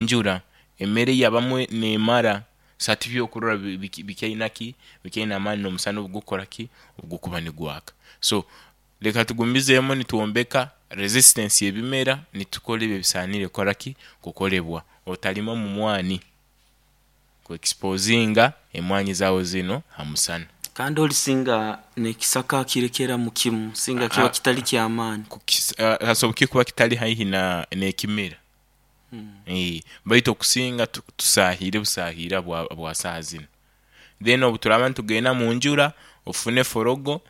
Enjura emere yabamu nemara, so hati byokurora bikyaina ki, bikyaina amaani n'omusana obugukukora ki, obugukuba nigwaka. So leka tugumizemu nitwombeka resistance y'ebimera nitukora ebi ebisanire kukora ki, kukolebwa. Otalima mu mwani ku exposinga emwani zaawe zinu ha musana. Kandi oli singa n'ekisaka akirekeramu kimu singa kiba kitali ky'amaani. Hasoboka kikuba kitali haihi n'ekimera baitu okusinga tusahiire busahiira bwa saaha zinu. Then obuturaba nitugenda munjura, ofune forogo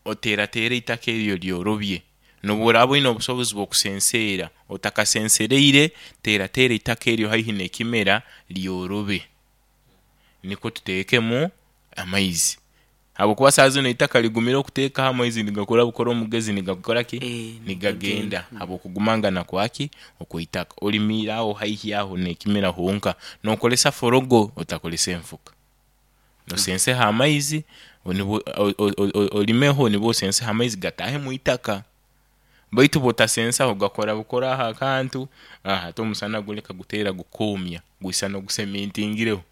oteratere eitaka eryo oryorobye. Nobworaba oine obusobozi bw'okusenseera, otakasensereire teratera eitaka eryo haihi n'ekimera lyorobe nikwo tutekemu amaizi habwokuba saaha zinu eitaka ligumire okutekaho amaizi nigakora bukora omugezi nigakora ki? Nigagenda habwokugumangana kwaki? Okweitaka. Olimiire awo haihi aho nekimera honka nokolesa forogo otakolesa enfuka. Osenseho amaizi olimeho nibwo osenseho amaizi gatahe mwitaka baitu bwotasensaho gakora bukora aho akantu ate omusana guleka gutera gukomya gwisana ogusementingireho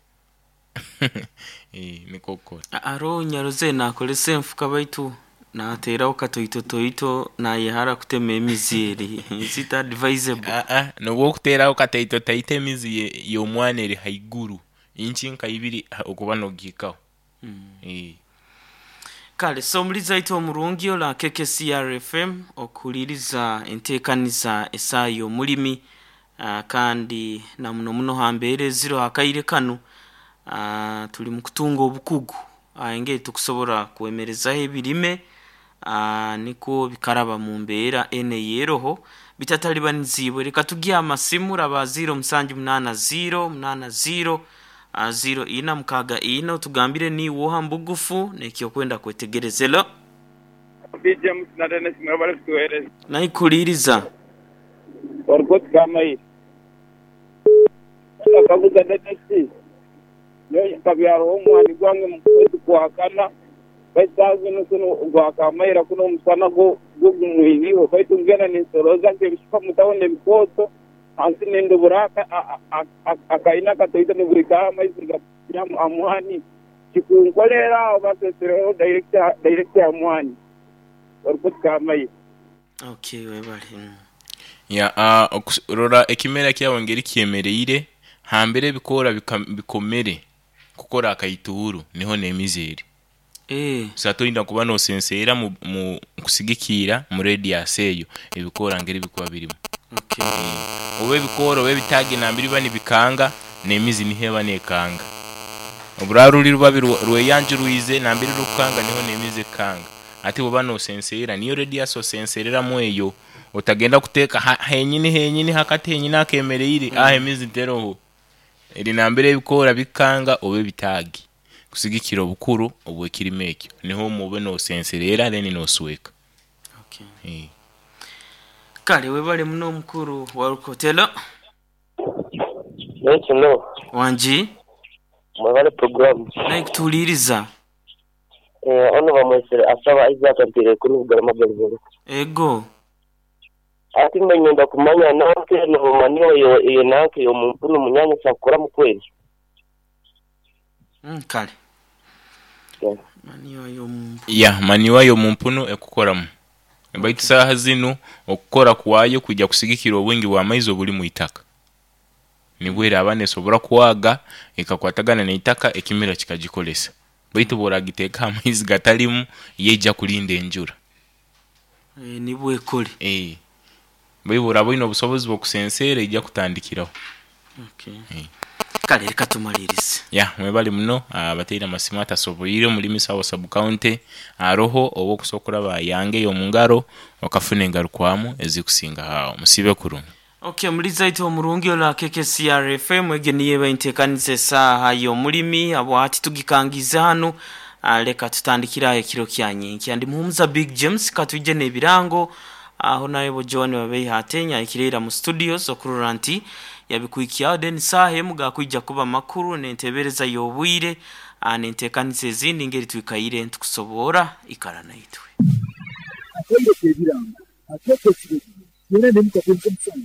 nikwo gukora. Haroho nyarozere nakozesa enfuka baitu nateraho katoitotoito nayehara kutema emizi eri. Is it advisable? Nobwokuteraho kataitotaito emizi y'omwani eri haiguru inchi nka ibiri okuba nogihikaho. Kale so omulizi waitu omurungi ola KKCR FM okuhuliriza entekaniza esaaha y'omulimi kandi na muno muno ha mbeera eziroho akaire kanu tuli mu kutunga obukugu engeri tukusobora kwemerezaho ebirime nikwo bikaraba mu mbeera enu eyeroho bitatalibaniziibwe. Leka tugye aha masimu raba ziiro musanju munaana ziiro munaana ziiro ziiro ina mukaaga ina otugambire niiwe oha mubugufu n'ekyokwenda kwetegereza. Hello. Obi James na Dennis mwebale kutuwereza. Naikuliiriza. Orikoti Kamaire. Nakaguza Dennis, nyowe nkabyaraho omwani gwange mu kwezi kwa kana baitu saaha zinu kunu gwa Kamaira kunu omusana gwo gumwiriho baitu ngenda ninsoroza nk'ebishuka omu tawuni ebikooto hansi nindubura akaina akatoito nibwikaho amaizi gapya aha mwani tikunkoleera aho basesereho direct aha mwani orikoti Kamaira. Okay webale. Ya okurora ekimera kyawe engeri kyemereire, hambere ebikoora bikomere kukora akaituuru niho n'emizi eri. So hati oina kuba nosenseera mu kusigikiira mu radius eyo ebikoora ngeri bikuba birimu. Oba ebikoora oba ebitaagi nambere biba nibikanga n'emizi niho eba nekanga. Oburaba ruri ruba rweyanjurwize nambere rukukanga niho n'emizi ekukanga. Hati bwoba nosenseera niyo radius osensereramu eyo. Otagenda kuteeka henyini henyini hakati henyini akemereire aho emizi teroho. Eri nambere ebikoora bikukanga oba ebitaagi kusigikira obukuru obw'ekirime ekyo niho omwo obe nosenserera then nosweka. Kale webale muno mukulu Walukotelo. Nekino. Wangi. Mwebale program. Naye kutuwuliriza. Ono bamwesere Asaba Isaac nteire kunu Bugarama Galibore. Ego. Ati mbe nyenda kumanya nanka eno manure eyo nanka eyo mumpunu munyanya sakukuramu kweri. Kale. Manure yo mumpunu. Ya, manure yo mumpunu ekukoramu. Baitu saaha zinu okukora kwayo kwija kusigikira obwingi bwa maizi obuli mwitaka. Nibwo eraba nesobora kwaga ekakwatagana neitaka ekimera kikagikolesa. Baitu bworagitekaho amaizi gatalimu, yo eija kulinda enjura. Nibwo ekore. Baitu bworaba oine obusobozi bw'okusenseera eija kutandikiraho. Kale leka tumalirize. Ya, mwebale muno abateire amasimu atasoboire omuri Misawo Sub County aroho oba okusobola okuraba aha yange ey'omungaro okafuna engarukwamu ezikusingaho aho. Musiibe kurungi. Ok muliza itwe omurungi ola KKCR FM egyo niyo eba entekaniza esaaha y'omulimi habwahati tugikangiize hanu leka tutandikire agho ekiro kya nyenkya. Ndi Muhumuza Big James katwije n'ebirango agho naye bo Joan Babeiha Atenya ahikire ira mu studios okurora nti yabikuhikyagho then saaha emu gakwija kuba makuru n'entebereza y'obwire n'entekaniza ezindi ngeri twikaire nitukusoboora ikara naitwe. Akaire k'ebirango, akeekyo ekiro, twena n'emikago nk'omusana.